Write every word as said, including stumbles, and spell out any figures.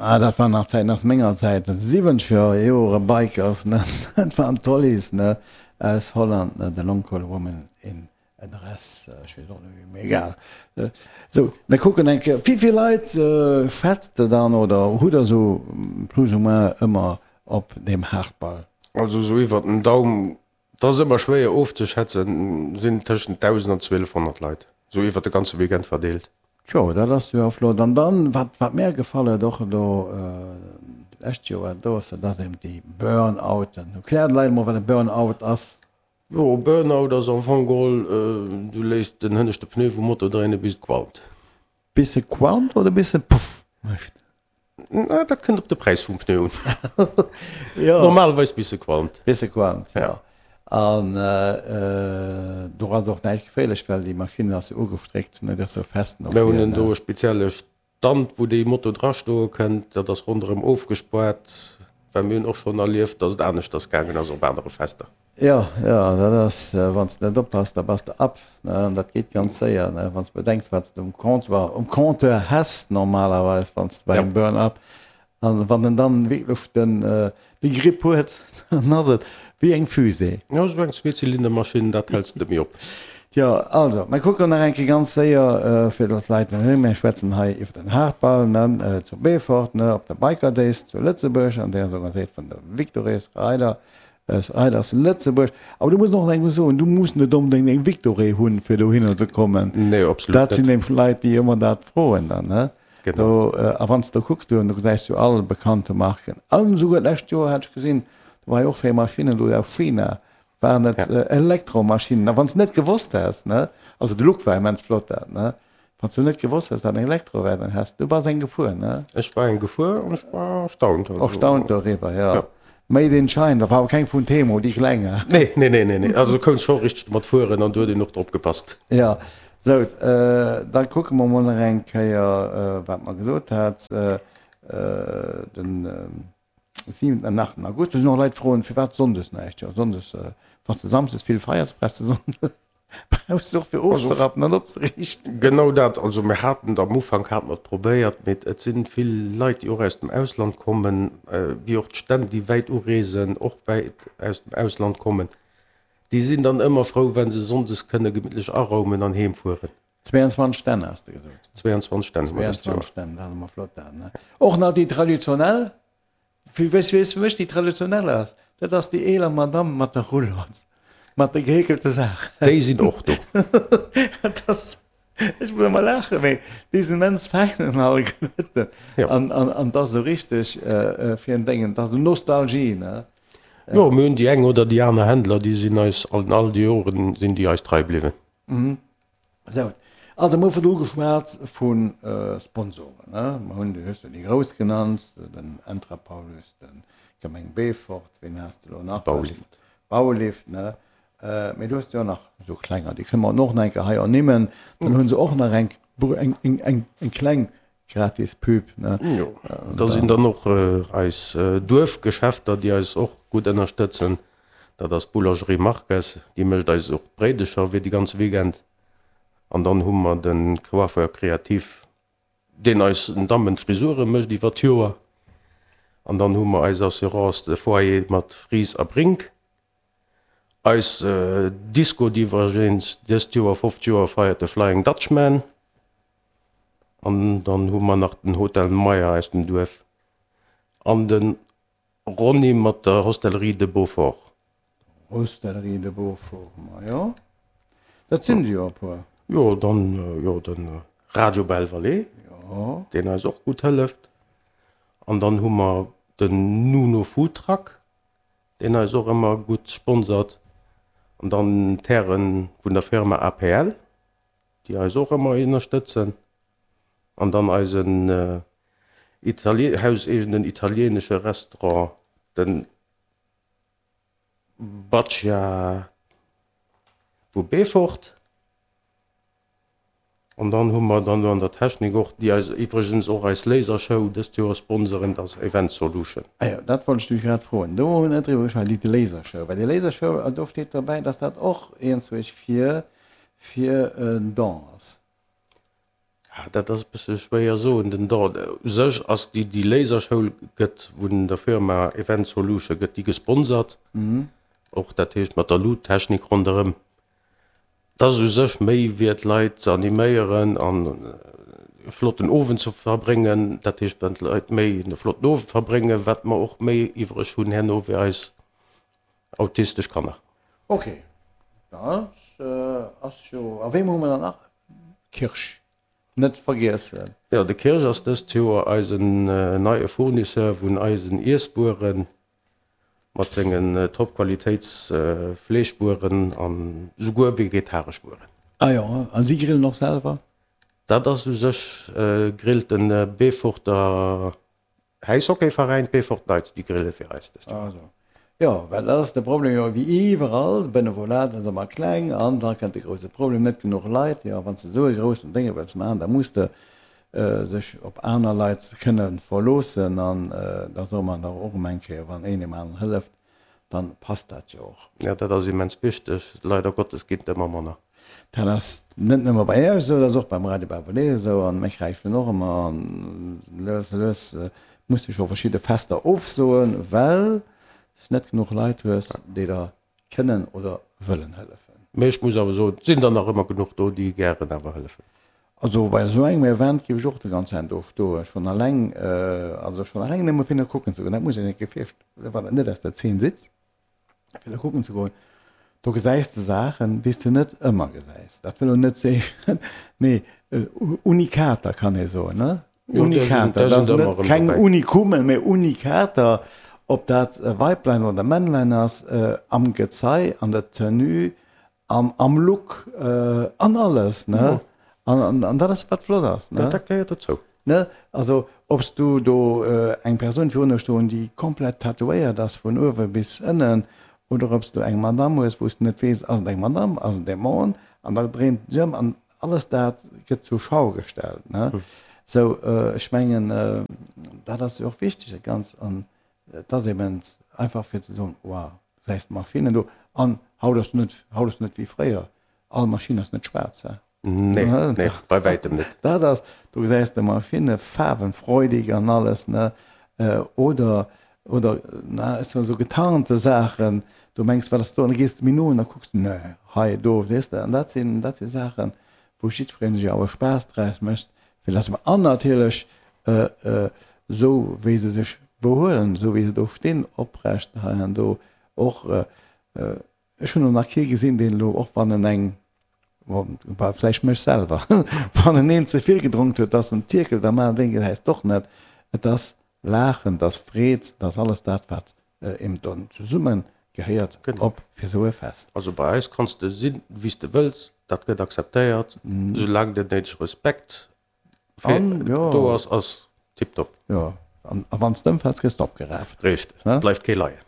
Ah, dat waren nach Zäiten aus menger Zäit, siwwenzeger Jore Bikers, ne, dat waren d'Hollies, ne, aus Holland, ne, The Long Cold Woman in a Dress, ech weess och net wéi, mee egal. Sou, mir kucken eng Kéier, wéi vill Leit schätzt de dann oder hutt der sou plus ou moins ëmmer op deem Haardball? Also sou iwwert den Daum, 't ass ëmmer schwéier ofzeschätzen, sinn tëschent dausend an zwielefhonnert Leit, sou iwwert de ganze Weekend verdeelt. Tjo, dat ass jo flott. An dann, wat, wat mär gefall huet och elo d'lescht Joer, do ass, dat ass eben déi Burnouten. Erklär de Leit emol, wat e Burnout ass. Jo, e Burnout ass am Fong geholl, du léiss den hënneschte Pneu vum Moto dréinen, bis et qualmt. Bis e qualmt oder bis e puff mécht? Na, dat kënnt op de Präis vum Pneu un. Jo. Normalerweis bis e qualmt. Bis e qualmt, jo. An do ass och näischt geféierlech, well déi Maschinn ass jo ugestréckt, ne, déi ass jo fest no Mir hunn vir, do ne. e spezielle Stand, wou déi Moto drastoe kënnt. Dat ass ronderëm ofgespaart, well mir hunn och schonn erlieft, dass et aneschters gaangen ass op anere Fester. Jo, jo, dat ass, wann s de net oppass, da bass de ab, ne, an dat geet ganz séier, ne, wann s de bedenks, wat s de um Comptoir, um Compteur häss normalerweis, wann s de bei engem Burn-up, an wann en dann wierklech den, de Grip huet, dann ass et wéi eng Fusée. Jo, esou eng Zweezylindermaschinn, dat häls de méi op. Tjo, also, mir kucken nach eng Kéier ganz séier, fir datt d'Leit net, mir schwätzen hei iwwer den Haardball, ne, zu Beefort, ne, op der Biker Days zu Lëtzebuerg, an déi ass organiséiert vun der Victories Rider. Riders Lëtzebuerg. Awer du muss och nach eng soen, du muss net onbedéngt eng Victory hunn, fir dohinner ze kommen. Nee, absolut Dat sinn net. nämlech Leit, déi ëmmer dat froen dann, ne? Genau. Do, a wann s de do kucks, do gesäis du all bekannte Marken. An esouguer d'lescht Joer hat ech gesinn, do war jo och schéi Maschinnen do aus China, waren et Ja. Elektromaschinnen. A wann s de net gewosst häss, ne, also de Look war immens flott dat, ne? Wann s du net gewosst häss, dat eng Elektro wär, dann häss du bass eng gefuer, ne? Ech war eng gefuer an ech war erstaunt. Also, Erstaunt doriwwer, jo. Ja. Made in China, dat war awer keng vun Temu, déi kleng, he? Nee, nee, nee, nee, nee. Also du kouns scho richteg domat fueren an do huet een och drop gepasst. Jo, sou, da kucke mer mol nach eng Kéier, wat mer gesot hat, den siwenten an achten August. Do sinn och Leit froen, firwat sonndes näischt. Jo, sonndes, wann s de samsdes vill feiers, brauchs de sonndes brauchs de och fir ofzerappen an opzeriichten. Genau dat. Also mir haten et am Ufank hate mer et probéiert, mee et si vill Leit, déi och aus dem Ausland kommen, wéi och d'Stänn, déi wäit ureesen, och wäit aus dem Ausland kommen. Déi sinn dann ëmmer frou, wa se sonndes kënne gemittlech araumen an heem fueren. zweiundzwanzeg Stänn has de gesot? zweiundzwanzeg Stänn hu mer dëst Joer. zweiundzwanzeg Stänn, dat ass ëmmer flott dat, ne? Och nach déi traditionell. Weess du fir mech déi traditionell ass? Dat ass déi eeler Madamm mat der Roulotte, mat de gehekelte Saachen. Déi sinn och do. Dat ass, ech muss ëmmer laachen, mee déi sinn immens fein an alleguerten. An, an, an dat ass esou richteg fir en Déngen, dat ass esou Nostalgie, ne? Jo, mir hunn déi eng oder déi aner Händler, déi sinn eis an all déi Joren sinn déi eis trei bliwwen. Sou, also mir hu virdru geschwat vu Sponsoren, ne? Mir hunn, du hues jo déi grouss genannt, den Entra Paulus, de Gemeng Beefort, ween has de elo nach? Baulift. Baulift, ne? Mee du hues jo och nach esou klenger, déi kënne mer och nach eng Kéier hei ernimmen. Dann hu se och nach eng, eng, eng, eng kleng gratis Pub, ne? Jo, da sinn dann och eis Duerfgeschäfter, déi eis och gutt ënnerstëtzen. Dat ass d'Boulangerie Marques, déi mécht eis och d'Bréidecher fir de ganze Weekend. An dann hu mer de Coiffeur créatif, deen eis den Dammen d'Frisure mécht iwwer d'Joer. An dann hu mer eis Assurance de foyer mat Fries a Brink. Eis Disco, déi iwwregens dëst Joer fofzeg Joer feiert, de Flying Dutchman. An dann hu mer nach den Hotel Meyer aus dem Duerf an de Ronny mat der Hostellerie de Beaufort. Hostellerie de Beaufort, majo, dat sinn der jo e puer. Jo, dann jo de Radio Belle Vallée, deen eis och gutt hëlleft. An dann hu mer den Nuno Food Truck, deen eis och ëmmer gutt sponsert. An dann d'Häre vun der Firma A P L, déi eis och ëmmer ënnerstëtzen. An dann eisen hauseegenen italienesche Restaurant, den Bacia vu Beefort. An dann hu mer dann an der Technik och, déi eis iwwregens och eis Lasershow dëst Joer sponsoren, dat ass Event Solution. Ah jo, dat wollt ech dech grad froen. Do hu mer net driwwer geschwat, déi Lasershow. Well déi Lasershow, do steet dobäi, dass dat och eenzwousch fir fir en Don ass. Dat ass e bësse schwéier soen. Den Don u sech ass déi, déi Lasershow gëtt vun der Firma Event Solution gëtt déi gesponsert. Och dat heescht mat der Luuttechnik ronderëm. Dat ass u sech méi fir d'Leit ze animéieren an e flotten Owend ze verbréngen. Dat heescht wann d'Leit méi e flotten Owend verbréngen, wat mer och méi iwwreg hunn herno fir eis autistesch Kanner. Ok, dat ass jo. A wéi hu mer dann nach? Kirsch net vergiessen. Jo, de Kirsch ass dëst Joer eisen neie Fournisseur vun eisen Iesswueren mat sengen Top-Qualitéits Fleeschwueren an souguer vegetaresch Wueren. Ah jo, a si grillen och selwer? Dat ass u sech grillt de Beeforter Äishockeyveräin, d'Beefort Knights, déi grille fir eis dëst Joer. Ah sou. Jo, well dat ass de Problem jo wéi iwwerall, Benevolat ass ëmmer kleng an da kënnt de grouse Problem, net genuch Leit. Jo, wann s de esou e groussen Dénge wëlls maachen, da muss de sech op aner Leit kënne verloossen an da soe mer dach och ëm eng Kéier, wann een deem aneren hëlleft, dann passt dat jo och. Jo, dat ass immens wichteg. Leider Gottes ginn et ëmmer manner. Dat ass net nëmme bei Iech esou, dat ass och beim Radio Bavolet esou an mir kräischen och ëmmer an lues a lues muss de scho verschidde Fester ofsoen, well s net genuch Leit hues, déi der kënnen oder wëllen hëllefen. Mee ech muss awer soen, et sinn der nach ëmmer genuch do, déi gären awer hëllefen. Also bei esou engem Event géif ech och de ganzen Zäit do stoen, schonn alleng, also schonn alleng nëmme fir no kucken ze goen. Dat muss een net gefiercht, wann et net aus der Zeen sidd, fir no kucken ze goen. Do gesäis de Saachen, déi s de net ëmmer gesäis. Dat wëll elo net zeechen, nee, Unikater kann ee soen, ne? Unikater, dat ass net keng Unikummen, mee Unikater, ob dat Weiblein oder Männlein ass, am Gezei, an der Tenue, am, am Look, an alles, ne? An, an dat ass, wat flott ass, ne? Dat gehéiert dozou. Ne? Also, ob s du do eng Persoun virun der stoen, déi komplett tatouéiert ass vun uewe bis ënnen, oder ob s du eng Madamm hues, wou s de net weess, ass et eng Madamm, ass et e Mann, an da dréint et sech ëm an alles dat gëtt zur Schau gestellt. Ne? Sou, ech mengen, dat ass jo och wichteg, dat Ganzt. An et ass eben einfach fir ze soen, wow, du gesäis d'Maschinnen do. An haut ass net, haut ass net wéi fréier, all Maschinn ass net schwaarz, he? Nee, nee, bei wäitem net. Dat ass, du gesäis de Maschinne faarwenfreudig an alles, ne? Oder, oder, na, ech soen esou getarnte Saachen, du mengs, wat ass do? An da gees de méi no an da kucks de, nee, hei, do, weess de? An dat sinn, dat si Saachen, wou jiddweree sech awer Spaass draus mécht, fir dass mer, an natierlech esou wéi se sech behuelen, esou wéi se do stinn, oprecht hei an do och. Ech hunn elo nach kee gesinn, deen elo, och wann en eng, bah, vläicht mech selwer, wann en een ze vill gedronk huet, dass en tierkelt a maacht, deen gesäis d'och net. Et ass Laachen, et ass Freed, et ass alles dat, wat eben dann zesumme gehéiert op fir esou e Fest. Also bei eis kanns de sinn, wéi s de wëlls, dat gëtt akzeptéiert, soulaang den néidege Respekt do ass, ass tiptop. Jo, an wann s de ëmfäls, gëss de opgeraaft. Richteg, et bleift kee leien.